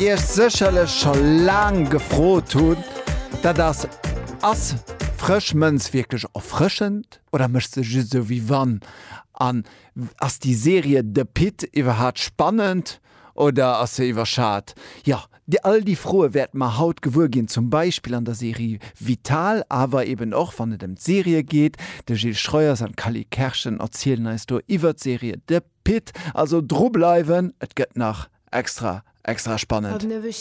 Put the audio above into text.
Iech sécherlech scho laang gefrot hunn, dat ass, Ass frësch Mënz wierklech erfrëschend oder mécht se just esou wéi wann? An ass déi Serie The Pitt iwwerhaat spannend oder ass se iwwerschat? Jo, all déi Froe wäerte mer haut gewuer ginn, zum Beispill an der Serie Vital, awer eben och wann et ëm d'Serie geet. De Gilles Schreuers an d'Cally Kerschen erzielen eis do iwwer d'Serie The Pitt. Also dru bleiwen, et gëtt nach extra extra spannend.